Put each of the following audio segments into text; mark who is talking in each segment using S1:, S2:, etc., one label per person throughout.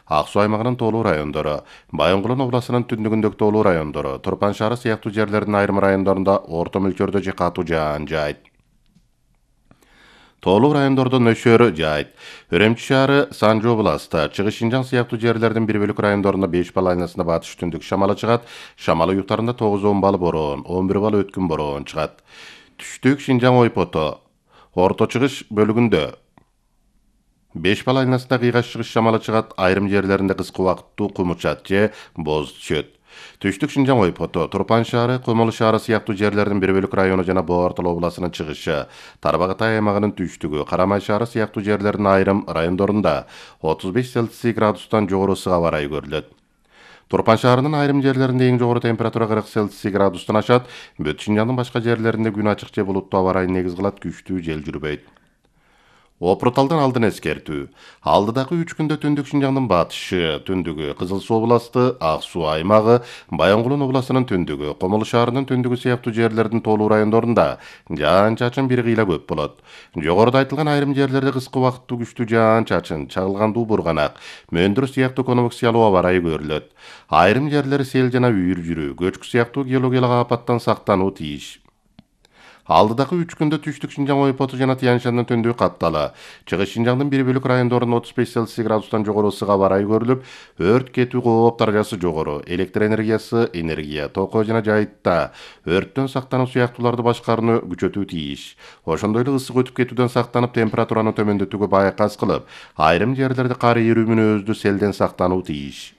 S1: Ак Суу аймагынын Тоолуу райондору, Байонгулун областынын түндүгүндөгү Тоолуу райондору, Турпан шаары сыяктуу жерлердин айрым райондорунда орто мөлчөрдө же катуу жаан жаайт. Тоолуу райондордо нөшөр жаайт. Өрөмчү шаары, Санжы областа, Чыгыш Шинжаң сыяктуу жерлердин бир бөлүк райондорунда 5 балл айнасында батыш түндүк шамалы чыгат. Шамал уюктарында 9-10 балл бороон, 11 балл өткүн бороон чыгат. Түштүк Шинжаң ойпото, Орто Чыгыш бөлүгүндө 5 балл айнасында кыйгаш чыгыш шамалы чыгат. Айрым жерлеринде кыска убакыттуу кумучат же боз түшөт. Түштүк Шинжаң ойпото, Турпан шаары, Комолу шаары сыяктуу жерлердин бир бөлүк району жана Боо Ортол областынын чыгышы, Тарбагатай аймагынын түштүгү, Карамай шаары сыяктуу жерлердин айрым райондорунда 35 Цельсий градустан жогору ысык аба ырайы көрүлөт. Турпан шаарынын айрым жерлеринде эң жогору температура 40 Цельсий градустан ашат. Бүт Шинжаңдын башка жерлеринде күн ачык же булуттуу аба ырайын негиз кылат, күчтүү жел жүрбөйт. Опурталдан алдын эскертүү. Алдыдагы 3 күндө түндүк Шинжаңдын батышы, түндүгү, Кызыл Суу областы, Ак Суу аймагы, Байонгулун областынын түндүгү, Комолу шаарынын түндүгү сыяктуу жерлердин Тоолуу райондорунда жаан-чачын бир кыйла көп болот. Жогоруда айтылган айрым жерлерде кыска убакыттуу күчтүү жаан-чачын, чагылгандуу бурганак, мөндүр сыяктуу конвекциялуу аба ырайы көрүлөт. Айрым жерлер сел жана үйүр жүрүү, көчкү сыяктуу геологиялык апаттан сактануу тийиш. Алдыдагы 3 күндө түштүк Шинжаң ойпоту жана Тянь-Шандын түндүгү каптала. Чыгыш Шинжаңдын бир бөлүк райондорунда 35 Цельсий градустан жогору ысык аба ырайы көрүлүп, өрт кетүү кооп даражасы жогору, электр энергиясы, энергия, токоо жана жайытта өрттөн сактануу сыяктууларды башкарууну күчөтүү тийиш. Ошондой эле ысык өтүп кетүүдөн сактанып, температураны төмөндөтүүгө байкас кылып, айрым жерлерде кар эрүү мүнөздүү селден сактануу тийиш.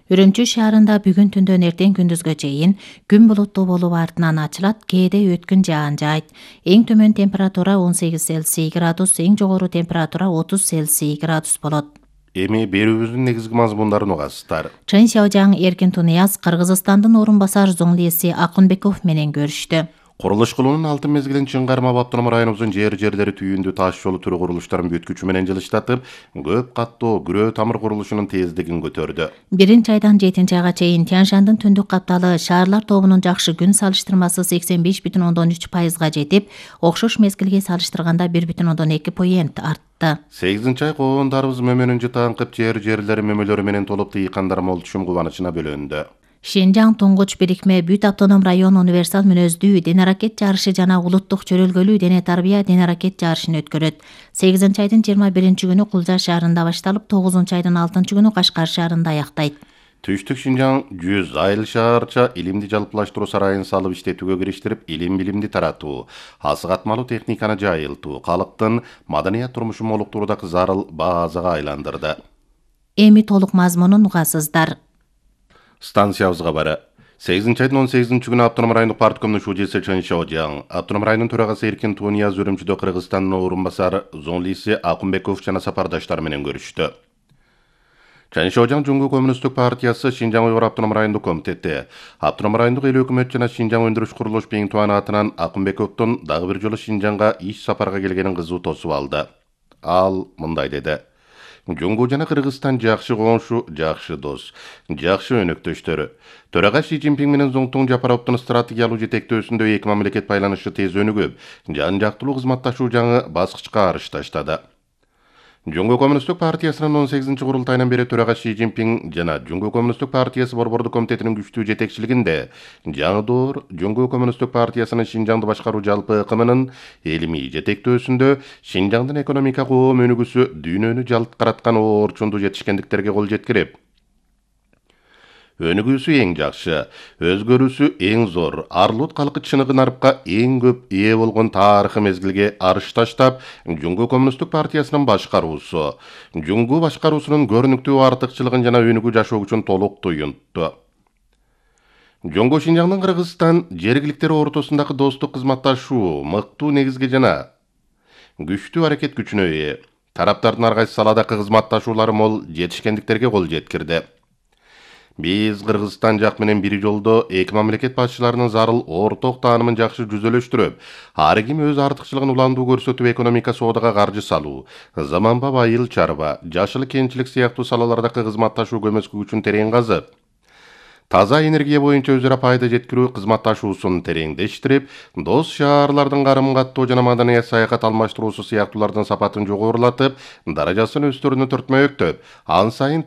S2: Үрөмчү шаарында бүгүн түндөн эртең күндүзгө чейин күн булуттуу болуп артынан ачылат, кээде өткүн жаан жаайт. Эң төмөн температура 18 Цельсий градус, эң жогору температура 30 Цельсий градус болот.
S1: Эми берүүбүздүн негизги мазмундарын угасыздар.
S2: Чын Сяожаң Эркин Тунияз Кыргызстандын орун басар зоңлиси Акунбеков менен көрүштү.
S1: Курулуш кылуунун алтын мезгилин Чын Кармап автоном районубуздун жерлери түйүндүү таш жолу түрү курулуштарын бүткүчү менен жылыштатып, көп каттуу күрөө тамыр курулушунун тездигин көтөрдү.
S2: 1-айдан 7-айга чейин Тянь-Шандын түндүк капталы шаарлар тобунун жакшы күн салыштырмасы 85,13%га жетип, окшош мезгилге салыштырганда 1,2% артты.
S1: 8-ай коондарыбыз мөмөнүн жытаңкып жерлери мөмөлөрү менен толуп тыйкандар мол түшүм кубанычына бөлөндү.
S2: Шинжаң туңгуч бирикме бүт автоном район универсал мүнөздүү дене аракет жарышы жана улуттук чөрөлгөлүү дене тарбия дене аракет жарышын өткөрөт. 8-айдын 21-күнү Кулжа шаарында башталып, 9-айдын 6-күнү Кашкар шаарында аяктайт.
S1: Түштүк Шинжаң 100 айыл шаарча илимди жалпылаштыруу сарайын салып иштетүүгө кириштирип, илим-билимди таратуу, асык атмалуу техниканы жайылтуу, калктын маданият турмушун молуктурууда зарыл базага айландырды.
S2: Эми толук мазмунун угасыздар.
S1: Станциябызга бары. 8-айдын 18-күнү автоном райондук парткомдун шужеси Чын Сяожаң, автоном районунун төрагасы Эркин Тунияз Үрүмчүдө Кыргызстандын орун басар зоңлиси Акунбеков жана сапардаштары менен көрүштү. Чын Сяожаң Жуңгу коммунисттик партиясы Шинжаң Уйгур автоном райондук комитети, автоном райондук эл өкмөт жана Шинжаң өндүрүш курулуш Бең Туан атынан Акунбековдун дагы бир жолу Шинжаңга иш сапарга келгенин кызуу тосуп алды. Ал мындай деди: Жуңгу жана Кыргызстан жакшы коңшу, жакшы дос, жакшы өнөктөштөр. Төрага Си Цзиньпин менен Зоңтун Жапаровдун стратегиялуу жетектөөсүндө эки мамлекет байланышы тез өнүгүп, жан-жактылуу кызматташуу жаңы баскычка арыш таштады. Жуңгу коммунисттик партиясынын 18-курултайынан бери төрага Си Цзиньпин жана Жуңгу коммунисттик партиясы борбордук комитетинин күчтүү жетекчилигинде жаңы доор Жуңгу коммунисттик партиясынын Шинжаңды башкаруу жалпы ыкымынын илимий жетектөөсүндө Шинжаңдын экономика коом өнүгүүсү дүйнөнү жалт караткан орчундуу жетишкендиктерге кол жеткирип, өнүгүүсү эң жакшы, өзгөрүүсү эң зор, арлут калкы чыныгы нарыпка эң көп ээ болгон тарыхый мезгилге арыш таштап, Жуңгу коммунисттик партиясынын башкаруусу, Жуңгу башкаруусунун көрүнүктүү артыкчылыгын жана өнүгүү жашоо үчүн толук туюнтту. Жуңгу Шинжаңдын Кыргызстан жергиликтери ортосундагы достук кызматташуу мыктуу негизге жана күчтүү аракет күчүнө ээ. Тараптардын ар кайсы саладагы кызматташуулары мол жетишкендиктерге кол жеткирди. Биз Кыргызстан жак менен бир жолдо эки мамлекет башчыларынын зарыл орток таанымын жакшы жүзөлөштүрүп, ар ким өз артыкчылыгын уландуу көрсөтүп экономика соодага каржы салуу, заманбап айыл чарба, жашыл кенчилик сыяктуу салалардагы кызматташуу көмөскө күчүн терең казып, таза энергия боюнча өзара пайда жеткирүү кызматташуусун тереңдештирип, дос шаарлардын карым каттоо жана маданият саякат алмаштыруусу сыяктуулардын сапатын жогорулатып, даражасын өстөрүнө төртмөктөп, ан сайын